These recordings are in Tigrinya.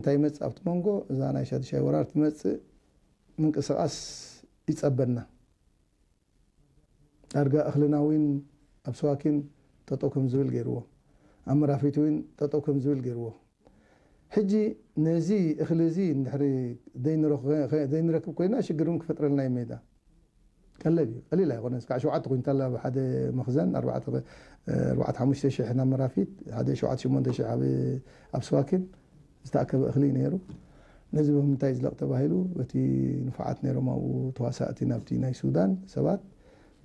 እንታይ ይመጽእ ኣብቲ መንጎ? እዛ ናይ ሻድሻይ ወራር ትመጽእ፣ ምንቅስቓስ ይጸበና። ዳርጋ እኽልና እውን ኣብ ስዋኪን ጠጠው ከም ዝብል ገይርዎ፣ ኣብ መራፊት እውን ጠጠው ከም ዝብል ገይርዎ። ሕጂ ነዚ እኽሊ እዚ እንድሕሪ ዘይንረኽ-፣ ዘይንረክብ ኮይና ሽግር እውን ክፈጥረልና እዩ ሜዳ። ቀለብ እዩ፣ ቀሊል ኣይኮነን። እስካዕ ሸውዓተ ኩንታል ኣብ ሓደ መኽዘን፣ ኣርባዕተ፣ ኣርባዕተ ሓሙሽተ ሽሕ ናብ መራፊት፣ ሓደ ሸውዓተ ሽሞንተ ሽሕ ኣብ፣ ኣብ ስዋኪን ዝተኣከበ እኽሊ እዩ ነይሩ። ነዚ ብምንታይ ዝለቕ ተባሂሉ፣ በቲ ንፉዓት ነይሮም ኣብኡ ተዋሳእቲ ናብቲ ናይ ሱዳን ሰባት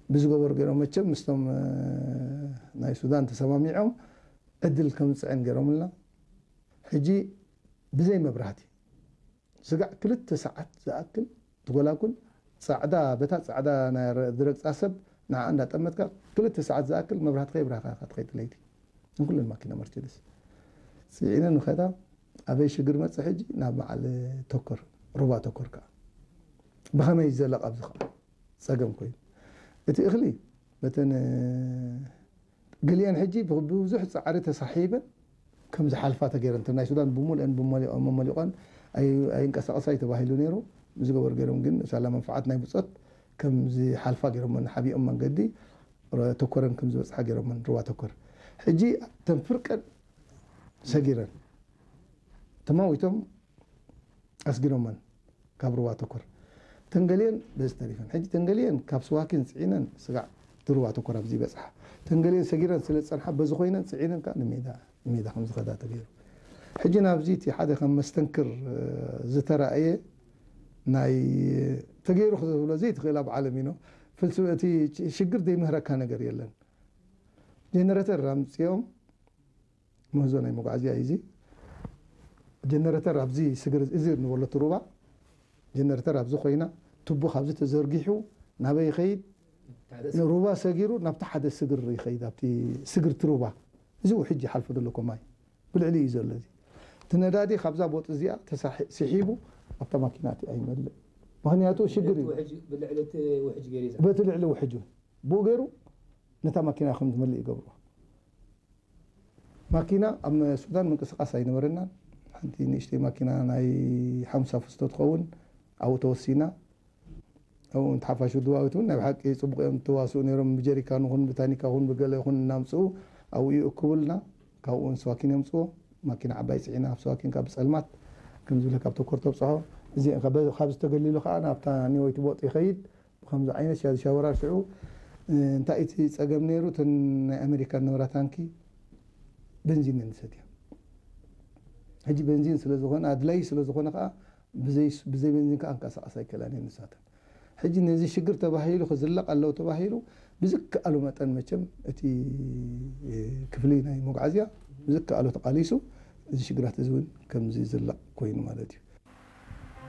ብዝገበሩ ገይሮም፣ መቸም ምስቶም፣ እ፣ ናይ ሱዳን ተሰማሚዖም ዕድል ከምፅዕን ገይሮምልና። ሕጂ ብዘይ መብራህቲ ስጋዕ ክልተ ሰዓት ዝኣክል ትጎላጉል፣ ጻዕዳ፣ በታ ጻዕዳ ናይ ረ-፣ ዝረግጻ ሰብ ንዓ እንዳጠመትካ ክልተ ሰዓት ዝኣክል መብራህቲ ከይብራህካ ኢኻ ትኸይድ ለይቲ። ንኩለን ማኪና መርቸዲስ ጽዒነን ንኸዳ። ኣበይ ሽግር መጸ ሕጂ? ናብ በዓል ተኮር፣ ሩባ ተኮር ከኣ። ብኸመይ ይዘለቕ ኣብዚ ከኣ ጸገም ኮይኑ። እቲ እኽሊ በተን ገሊአን ሕጂ ብብዙሕ ጻዕሪ ተሳሒበን ከም ዝሓልፋ ተገይረን። እተን ናይ ሱዳን ብምሉአን ብመሊኦ-፣ መመሊቖን ኣይ-፣ ኣይንቀሳቐሳ እዩ ተባሂሉ ነይሩ። ብዝገበሩ ገይሮም ግን ሳላ መንፍዓት ናይ ብጾት ከም ዝሓልፋ ገይሮመን፣ ሓቢኦም መንገዲ ረ-፣ ተኮረን ከም ዝበጽሓ ገይሮመን፣ ሩባ ተኮር። ሕጂ እተን ፍርቀን ሰጊረን ተማዊቶም ኣስጊሮመን ካብ ሩባ ተኮር። ተንገሊየን በዚ ተሪፈን። ሕጂ ተንገሊየን ካብ ስዋኪን ጽዒነን ስጋዕ እቲ ሩባ ተኮር ኣብዚ ይበጽሓ። ተንገሊየን ሰጊረን ስለ ዝጸንሓ በዚ ኮይነን ጽዒነን ከኣ ንሜዳ፣ ንሜዳ ከም ዝኸዳ ተገይሩ። ሕጂ ናብዚ እቲ ሓደ ከም መስተንክር፣ እ፣ ዝተራእየ ናይ ተገይሩ ክትብሎ ዘይትኽእል ኣብ ዓለም እዩ። ፍልስ-፣ እቲ ሽግር ዘይምህረካ ነገር የለን። ጀነሬተር ኣምጺኦም ምህዞ ናይ መጓዓዝያ እዩ እዚ። ጀነሬተር ኣብዚ ስግር፣ እዚ እንበሎ እቲ ሩባ፣ ጀነሬተር ኣብዚ ኮይና፣ ቱቦ ካብዚ ተዘርጊሑ ናበይ ይኸይድ? ሓደ ስግር። ሩባ ሰጊሩ ናብቲ ሓደ ስግር ይኸይድ፣ ኣብቲ ስግር እቲ ሩባ። እዚ ውሕጅ ይሓልፎ ዘሎ እኮ ማይ። ብልዕሊ እዩ ዘሎ እዚ። እቲ ነዳዲ ካብዛ ቦጥ እዚኣ ተሳሒ-፣ ስሒቡ ኣብታ ማኪና እቲ ኣይመልእ። ምኽንያቱ ሽግር እዩ። ውሕጅ፣ ብልዕሊ እቲ ውሕጅ ገይሩ እዩ። በቲ ልዕሊ ውሕጅ እውን። ብኡ ገይሩ ነታ ማኪና ከም ትመልእ ይገብሮ። ማኪና ኣብ ሱዳን ምንቅስቓስ ኣይነበረናን። ሓንቲ ንእሽተይ ማኪና ናይ ሓምሳ ፍስቶ ትኸውን ኣብኡ ተወሲና። ኣብኡ እቲ ሓፋሽ ውድባዊት እውን ናይ ብሓቂ ጽቡቕ እዮም ትዋስኡ ነይሮም። ብጀሪካን ይኹን ብታኒካ ይኹን ብገለ ይኹን እናምጽኡ ኣብኡ ይእክቡልና። ካብኡ እውን ስዋኪን የምጽዎ። ማኪና ዓባይ ጽዒና ኣብ ስዋኪን ካብ ጸልማት ከም ዝብለ ካብ ተኮር ተብጽሖ። እዚ ካብ ዝተገሊሉ ከኣ ናብታ ኒወይቲ ቦጥ ይኸይድ። ብከምዚ ዓይነት ሻ-፣ ሻወራ ሽዑ፣ እ፣ እንታይ እቲ ጸገም ነይሩ? እተን ናይ ኣሜሪካ ንብራ ታንኪ በንዚን እየን ዝሰትያ። ሕጂ በንዚን ስለ ዝኾነ፣ ኣድላዪ ስለ ዝኾነ ከኣ ብዘይ፣ ብዘይ በንዚን ከኣ ክንቀሳቐሳ ኣይክእላን እየን ንሳተን። ሕጂ ነዚ ሽግር ተባሂሉ ክዝለቕ ኣለዎ ተባሂሉ ብዝከኣሉ መጠን መቸም እቲ፣ እ፣ ክፍሊ ናይ መጓዓዝያ ብዝከኣሉ ተቓሊሱ እዚ ሽግራት እዚ እውን ከምዚ ዝዝለቕ ኮይኑ ማለት እዩ።